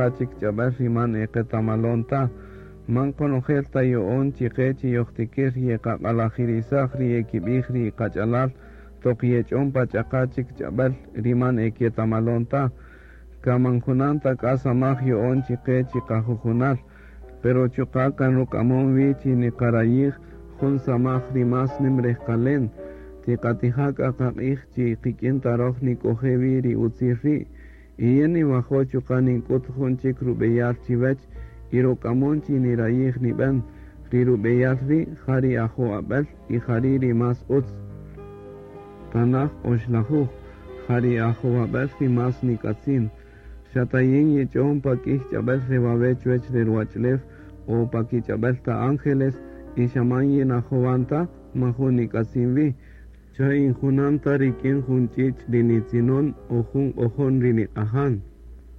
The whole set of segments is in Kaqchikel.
ch'aqa chik ch'ab'äl ri man e qetamalon ta. Man qonojel ta ya'on chi qe chi yojtikir yeqaq'alajirisaj ri yekib'ij ri qach'alal toq yech'on pa ch'aqa chik ch'ab'äl ri man e ketamalon ta. Kan man junan ta k'a samaj ya'on chi qe chi qajujunal, pero chuqa' kan ruk'amon wi chi niqarayij jun samaj ri más nim rejqalen. Tiqatija' k'a qaq'ij chi qik'in ta roj nik'oje' wi ri utzil ri'. Y yin ninwajo' chuqa' nink'ut jun chik rub'eyal chiwech y ruk'amon chi nirayij nib'en. Ri rub'eyal ri' ja ri ajowab'äl y jari' ri más utz. Tanaj oxlajuj, ja ri ajowab'äl ri más nik'atzin. Xa ta yin yich'on pa k'ïy ch'ab'äl re wawe' chuwech re ruwach'ulew o pa kich'ab'äl ta ángeles y xa man yinajowan ta, majun nik'atzin wi. Xa in junan ta rik'in jun ch'ich' ri nitzinon o jun q'ojon ri niq'ajan.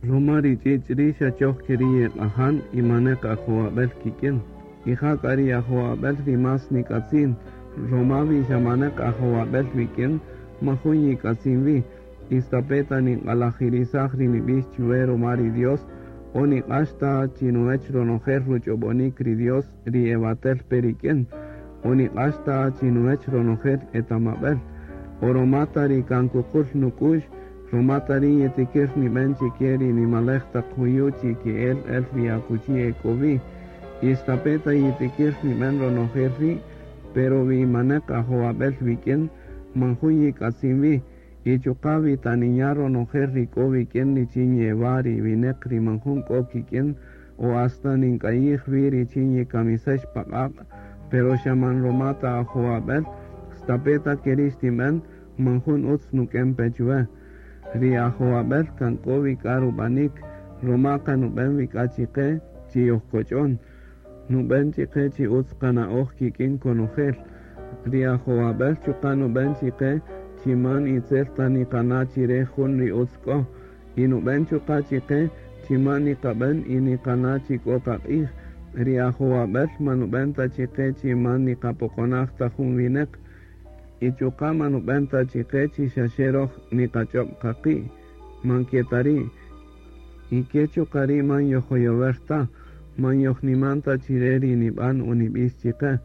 Ruma ri ch'ich' ri' xa choj ke ri' yeq'ajan y maneq ajowab'äl kik'in. Y ja k'a ri ajowab'äl ri más nik'atzin, ruma wi xa maneq ajowab'äl wik'in, majun yik'atzin wi. Y stape' ta ninq'alajirisaj ri nib'ix chuwe ruma ri Dios, o niq'ax ta chinuwech ronojel ruch'ob'onik ri Dios ri ewatel pe rik'in, o niq'ax ta chinuwech ronojel etamab'äl, o ruma ta ri kan kuqul nuk'u'x, ruma ta ri yitikir nib'en chike ri nimalej taq juyu' chi ke'el el ri akuchi e k'o wi. Y stape' ta yitikir nib'en ronojel ri', pero wi maneq ajowab'äl wik'in, man jun yik'atzin wi. Y chuqa' wi ta ninya' ronojel ri k'o wik'in richin yewa' ri wineq ri man jun k'o kik'in, o hasta nink'ayij wi richin yikamisex pa q'aq', pero xa man ruma ta ajowab'äl, stape' ta keri' xtinb'en, man jun utz nuk'en pe chuwe. Ri ajowab'äl kan k'o wi k'a rub'anik, ruma kan nub'en wi k'a chiqe chi yojkoch'on. Nub'en chiqe chi utz qana'oj kik'in konojel. Ri ajowab'äl chuqa' nub'en chiqe chi man itzel ta niqana' chire jun ri utz k'o. Y nub'en chuqa' chiqe chi man niqab'en y niqana' chi k'o qaq'ij. Ri ajowab'äl man nub'en ta chiqe chi man niqapoqonaj ta jun wineq. Y chuqa' man nub'en ta chiqe chi xa xe roj niqach'ob' qaqi', man ke ta ri'. Y ke chuqa' ri' man yojoyower ta, man yojniman ta chire ri nib'an o nib'ix chiqe.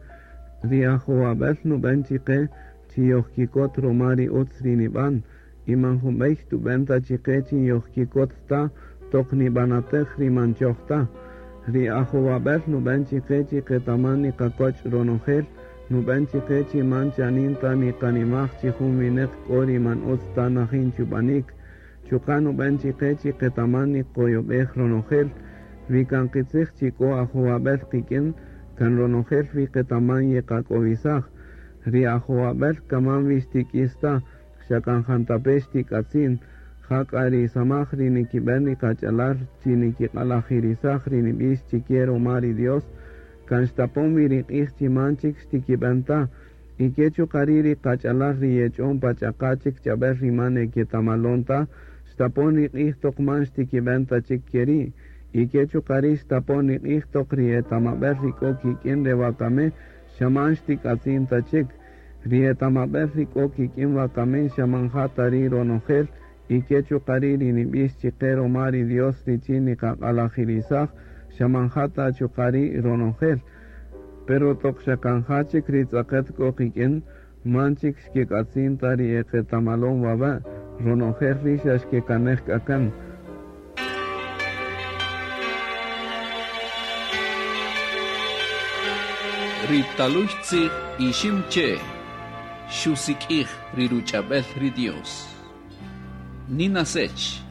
Ri ajowab'äl nub'en chiqe chi yojkikot ruma ri utz ri nib'an, y man jun b'ey tub'en ta chiqe chi yojkikot ta toq nib'anatej ri man choj ta. Ri ajowab'äl nub'en chiqe chi qetaman niqakoch' ronojel, nub'en chiqe chi man chanin ta niqanimaj chi jun wineq k'o ri man utz ta najin chub'anik. Chuqa' nub'en chiqe chi qetaman niqoyob'ej ronojel, wi kan qitzij chi k'o ajowab'äl qik'in, kan ronojel wi qetaman yeqak'owisaj. Ri ajowab'äl kaman wi xtik'is ta, xa kan jantape' xtik'atzin. Ja k'a ri samaj ri nikib'en ri qach'alal chi nikiq'alajirisaj ri nib'ix chike ruma ri Dios, kan xtapon wi ri q'ij chi man chik xtikib'en ta. Y ke chuqa' ri' ri qach'alal ri yech'on pa ch'aqa chik ch'ab'äl ri man e ketamalon ta, xtapon ri q'ij toq man xtikib'en ta chik ke ri'. Y ke chuqa' ri' xtapon ri q'ij toq ri etamab'äl ri k'o kik'in re wakami xa man xtik'atzin ta chik. Ri etamab'äl ri k'o kik'in wakami xa man ja ta ri' ronojel, y ke chuqa' ri' ri nib'ix chiqe ruma ri Dios richin niqaq'alajirisaj, xa man ja ta chuqa' ri' ronojel. Pero toq xa kan ja chik ri tz'aqet k'o qik'in, man chik xkek'atzin ta ri e qetamalon wawe', ronojel ri' xa xkekanej k'a kan. Ri talux tzij ixim che xusik'ij ri ruch'ab'el ri Dios. Nina sech,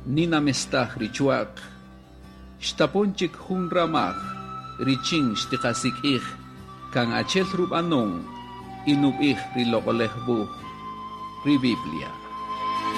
nina mestaj ri chuaq, xtapon chik jun ramaj richin xtiqasik'ij kan achel rub'anon y nub'ij ri loq'olej wuj, ri Biblia.